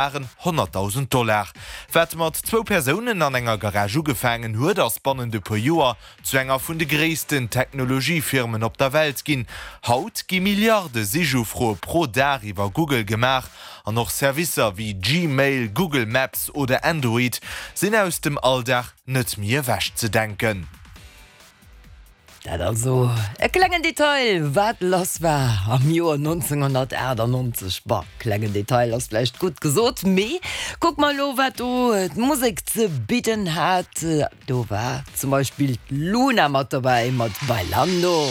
Waren 100.000 Dollar. Wat mat zwou Persounen an enger Garage ugefaangen huet, ass bannent e puer Joer zu enger vun de gréissten Technologiefirmen op der Welt ginn. Haut gi Milliarde Sichufroe pro Dag iwwer Google gemaach an och Servicer wéi Gmail, Google Maps oder Android sinn aus dem Alldag net méi ewechzedenken. Dat also e klengen Detail, wat lass war am Joer 1998. Bon, klengen Detail ass vläicht gutt gesot, mee kuck mer elo, wat do d'Musek ze bidden hat. Do war zum Beispill d'Luna mat dobäi mat Bailando.